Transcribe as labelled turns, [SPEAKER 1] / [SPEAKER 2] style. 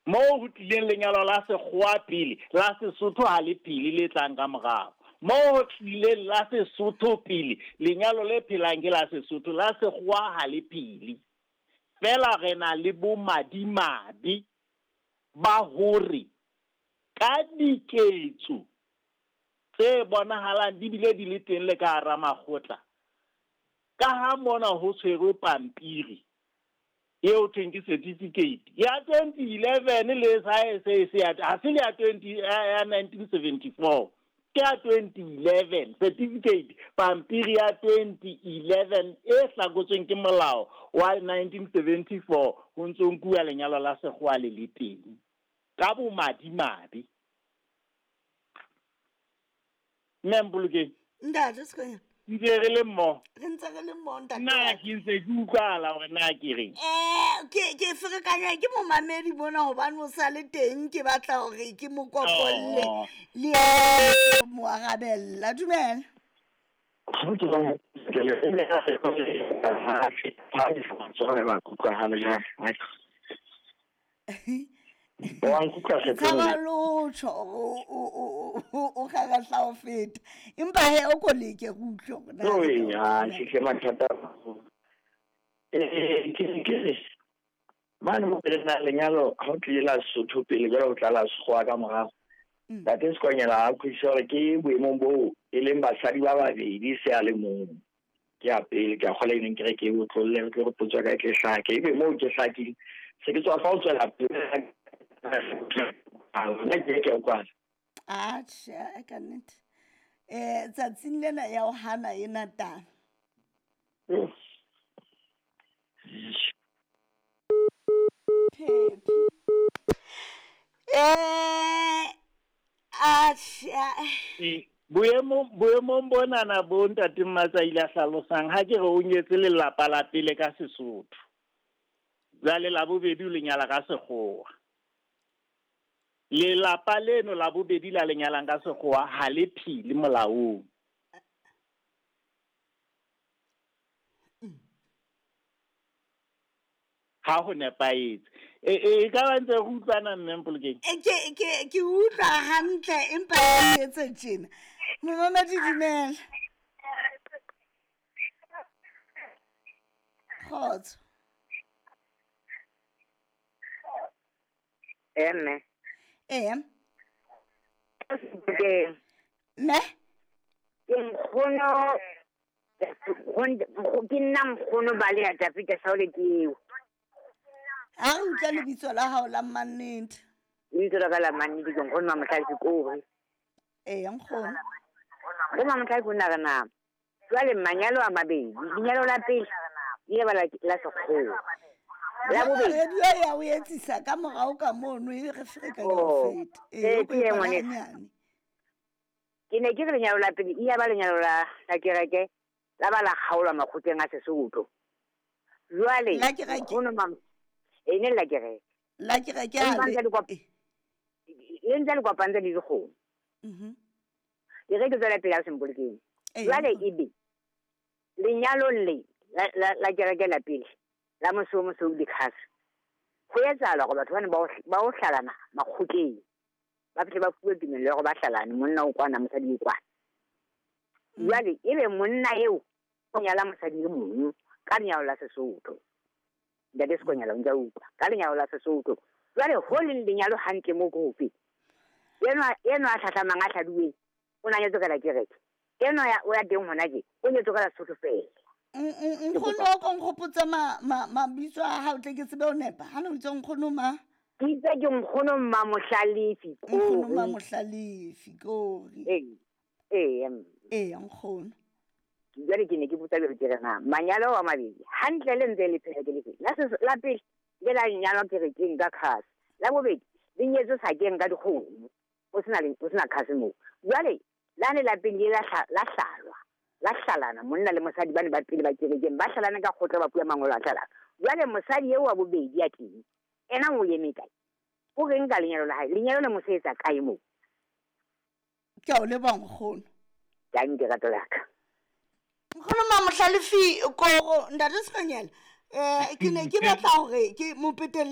[SPEAKER 1] Moo ho tlileng lenyalo la sekgowa pele, la Sesotho ha le phele le tlang ka morao. Moo ho tlileng la Sesotho pele, lenyalo le phelang ke la Sesotho, la sekgowa ha le phele. Feela re na le bomadimabe ba hore ka diketso tse bonahalang di bile di le teng le ka hara makgotla, ka ha mona ho tshwerwe pampiri eo thweng ke certificate ya 2011 le sa e se ya ha se le ya 20 ya 1974 ke ya 2011 certificate pampiri ya 2011 e hlakotsweng ke molao wa 1974 ho ntso nkuwa lenyalo la sekgowa le le teng ka bomadimabe. Mme Mpolokeng.
[SPEAKER 2] Ntate Sekonyana.
[SPEAKER 1] Ntse re le mmoho.
[SPEAKER 2] Re ntse re le mmoho ntate.
[SPEAKER 1] Na ke ntse ke utlwahala hore na ke reng?
[SPEAKER 2] Ke ferekanywa ke momamedi mona hobane o sa le teng, ke batla hore ke mo kopolle le mo arabella. Dumela. Tshaba lotho o kgarahla ho feta, empa he o ko leke re utlwe hore na
[SPEAKER 3] ya ke mathata. Ke re mane mo pele na lenyalo ha o tlile la Sesotho pele jwale ho tla la Sekgowa ka morao. Ntate Sekonyela a kgwisa hore ke boemong boo e leng basadi ba babedi se a le mong. Ke ya pele ke a kgola e neng ke re ke o tlolle re tlo re potso ka e tle hlake, ebe moo ke hlakile se ke tswa fa o tswela pele nna ke ke utlwana.
[SPEAKER 2] Atjhe, ka nnete. Tsatsing lena ya ho hana ena taba. Phephi. Atjhe.
[SPEAKER 1] Boemong bonana bo ntate Mmatsaile a hlalosang, ha ke re o nyetse lelapa la pele ka Sesotho, jwale la bobedi o le nyala ka Sekgowa. Lelapa leno la bobedi la le nyalang ka Sekgowa ha le phele molaong. Ha ho nepahetse. E ka ba ntse re utlwana mme Mpolokeng?
[SPEAKER 2] Ke utlwa hantle empa ke etse tjena. Momamedi dumela. Kgotso.
[SPEAKER 4] Mme.
[SPEAKER 2] Ee.
[SPEAKER 4] Ke.
[SPEAKER 2] Mme?
[SPEAKER 4] Ke nkgono, ke nna nkgono ba le ya Dafita Saule ke eo.
[SPEAKER 2] Ha re utlwa lebitso la hao la mannete.
[SPEAKER 4] Lebitso la ka la mannete ke nkgono Mamohlalefi Kore.
[SPEAKER 2] Ee, nkgono.
[SPEAKER 4] Bo Mamohlalefi o na re na. Jwale manyalo a mabedi, lenyalo la pele le ba la Sekgowa. La bobedi.
[SPEAKER 2] Radio ya o etsisa ka morao ka mono e re ferekanya ho feta.
[SPEAKER 4] Ee, ke e ngwaneso. Ke ne ke re lenyalo la pele e ya ba lenyalo la kereke, la ba la kgaolwa makgotleng a Sesotho. Jwale
[SPEAKER 2] la kereke.
[SPEAKER 4] Nkgono mam e ne la kereke.
[SPEAKER 2] La kereke ha
[SPEAKER 4] le ntse le kopantse le dikgomo. Ke re ke tswela pele ha Sempolokeng. Jwale ebe lenyalo le la kereke la pele la mosou mosou le khase. Ho etsahala hore batho bana ba o hlalana makgotleng. Ba fihle ba fuwe tumello ya hore ba hlalane, monna o kwana, mosadi o kwana. Jwale ebe monna eo o nyala mosadi e mong ka lenyalo la Sesotho. Ntate Sekonyela o ntse a utlwa ka lenyalo la Sesotho. Jwale ho leng lenyalo hantle moo ke hofe? Enwa a hlahlamang a hladuweng o na nyetswe ka la kereke. Enwa ya o ya teng hona tje o nyetswe ka la Sesotho feela.
[SPEAKER 2] Nkgono o ko nkgopotse mabitso a hao tle ke tsebe ho nepa. Ha no itse nkgono ma?
[SPEAKER 4] Ke itse ke nkgono Mamohlalefi Kore.
[SPEAKER 2] Nkgono Mamohlalefi Kore.
[SPEAKER 4] Ee.
[SPEAKER 2] Ee, nkgono.
[SPEAKER 4] Jwale ke ne ke botsa jwalo ke re na manyalo a mabedi hantle le ntse le phela ke lefe? La pele le la nyalwa kerekeng ka khase. La bobedi le nyetswe sakeng ka dikgomo. O sena khase moo. Jwale la ne la pele la hlalwa. La hlalana monna le mosadi ba ne ba pele ba kerekeng ba hlalana ka kgotla ba puya mangolo a hlalana. Jwale mosadi eo wa bobedi ya teng ena o eme kae? O reng ka lenyalo la hae? Lenyalo le mo sebetsa kae moo?
[SPEAKER 2] Ke a o leboha nkgono.
[SPEAKER 4] Danke rato la ka.
[SPEAKER 2] Nkgono Mamohlalefi Koro, ntate Sekonyela, ke ne ke batla hore ke mo petelle